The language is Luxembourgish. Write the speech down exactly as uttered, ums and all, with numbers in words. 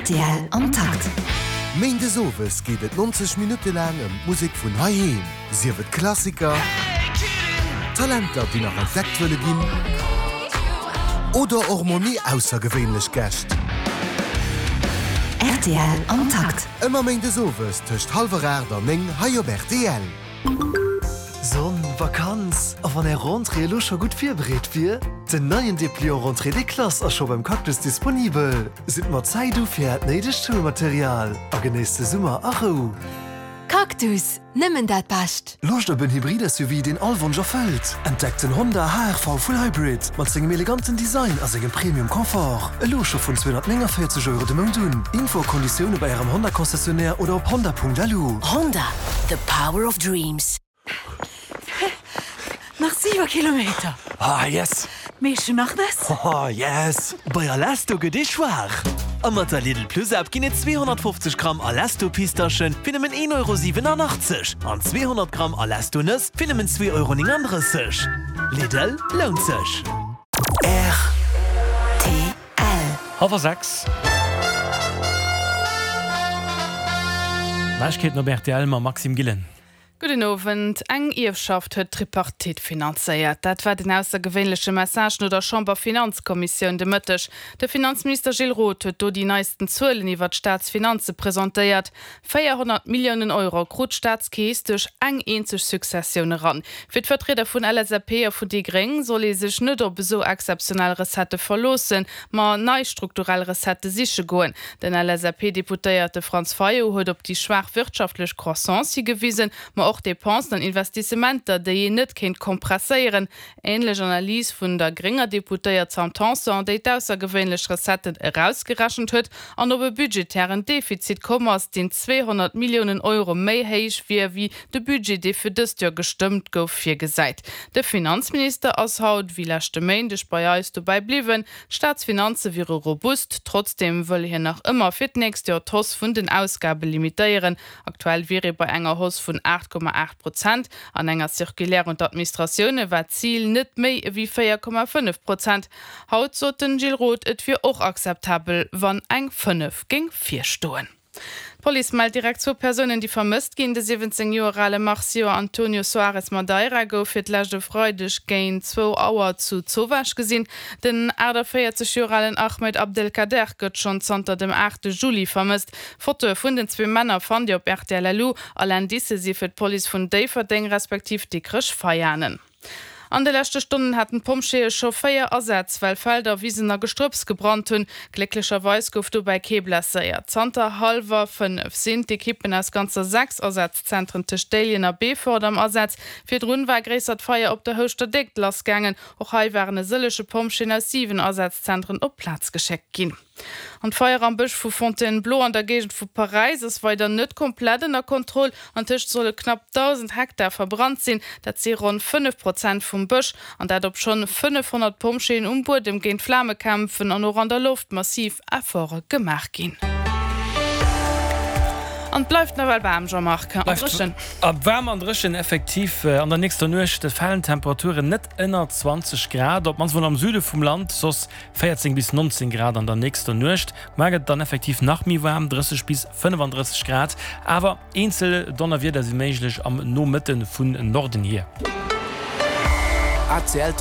Rtl am Takt. Méindes owes geet et nonzeg Minutte laang ëm d'Musek vun heiheem. Sief et Klassiker, Talenter, déi nach entdeckt wëlle ginn, oder och mol méi aussergewéinlech Gäscht. Rtl am Takt. Ëmmer méindes owes tëscht hallwer aacht an néng hei op rtl. Sonn, Vakanz, a wann är Rentrée elo scho gutt virbereet wier? Den neien Depliant Rentrée des classes ass scho beim Cactus disponibel. Sidd mat Zäit u fir äert néidegt Schoulmaterial a genéisst de Summer a Rou. Cactus, nëmmen dat Bescht. Loscht op en Hybrid-S U V, deen all Wonsch erfëllt? Entdeckt den Honda H R V Full Hybrid mat sengem eleganten Design a sengem Premium Confort. Elo scho vun zweehonnertnénganvéierzeg Euro de Mount un. Info a Konditioune bei ärem Honda Concessionnaire oder op honda Punkt L U. Honda, the power of dreams. Nach siwe Kilometer. Ah, yes! Meesche nach nes? Oh, yes! Bei Alesto gëtt ee schwaach. A mat der Lidl Plus App ginn et zweehonnertfofzeg Gramm Alesto Pistaschen fir nëmmen een Euro siwenanachtzeg an zweehonnert Gramm Alesto Nëss fir nëmmen zwee Euro nénganddrësseg. Lidl, lount sech. R T L. Hallwer sechs. Neiegkeeten op R T L mam Maxime Gillen. Gudden Owend. Eng Ierfschaft huet d'Tripartite finanzéiert. Dat war den aussergewéinleche Message no der Chamberfinanzkommissioun de Mëtteg. De Finanzminister Gilles Roth huet do déi neisten Zuelen iwwer d'Staatsfinanze presentéiert. véierhonnert Milliounen Euro krut d'Staatskeess duerch eng eenzeg Successioun eran. Fir d'Vertrieder vun L S A P a vun déi Gréng soll ee sech net op esou exzeptionell Recettë verloossen, ma nei strukturell Recettë siche goen. Den L S A P-Deputéierte Franz Fayot huet op déi schwaach wirtschaftlech Croissance higewisen, ma och Depensen an Investissementer, déi een net kéint kompresséieren. Änlech Analys vun der grénger Deputéiert Sam Tanson, déi d'aussergewéinlech Recetten erausgerechent huet an op e budgetären Defizit komm ass, deen zweehonnert Milliounen Euro méi héich wier wéi de Budget, dee fir dëst Joer gestëmmt gouf, virgesäit. De Finanzminister ass haut wéi leschte Méindeg bei eis dobäi bliwwen. D'Staatsfinanze wiere robust, trotzdeem wëll hien nach ëmmer fir d'nächst Joer d'Hausse vun den Ausgabe limitéieren. Aktuell wier ee bei enger Hausse vun aacht Komma aacht Prozent. An enger Circulaire un d'Administratioune war d'Zil net méi ewéi véier Komma fënnef Prozent. Haut sot den Gilles Roth, et wier och akzeptabel, wann eng fënnef géing virstoen. D'Police mellt direkt zwou Persounen, déi vermësst ginn. De siwwenzéng Joer ale Marcio Antonio Soares Madeira gouf fir d'lescht e Freideg géint zwou Auer zu Zowaasch gesinn. Den achtanvéierzeg Joer alen Ahmed Abdelkader gëtt schonn zanter dem aachte Juli vermësst. Fotoe vun den zwee Männer fannt Dir op R T L L U. All Indicë si fir d'Police vun Déifferdeng respektiv Dikrech-Veianen. An de leschte Stonnen haten d'Pompjeeë scho véier Asätz, well Felder, Wisen a Gestrëpps gebrannt hunn. Glécklecherweis gouf dobäi kee blesséiert. Zanter hallwer fënnef sinn d'Ekippen aus ganzer sechs Asazzentren tëscht Déiljen a Beefort am Asaz. Virdrun war e gréissert Feier op der Houschter Déckt lassgaangen. Och hei waren e sëllege Pompjeeën aus siwen Asazzentren op d'Plaz geschéckt ginn. An d'Feier am Bësch vu Fontainebleau an der Géigend vu Paräis ass weider net komplett ënner Kontroll. Antëscht solle knapp dausend Hektar verbrannt sinn. Dat si ronn fënnef Prozent vum Bësch. An dat obschonn fënnefhonnert Pompjeeën um Buedem géint d'Flame kämpfen an och an der Loft massiv Efforte gemaach ginn. An et bleift nawell waarm, Jean-Marc, an dréchen. Waarm an dréchen effektiv. An der nächster Nuecht falen d'Temperaturen net ënner zwanzeg Grad, op d'mannst mol am Süde vum Land, soss véierzéng bis nonzéng Grad an der nächster Nuecht. Muer gëtt et dann effektiv nach méi waarm, drësseg bis fënnefandrësseg Grad, awer eenzel Donnerwieder si méiglech am Nomëtte vun Norden hier. A C L.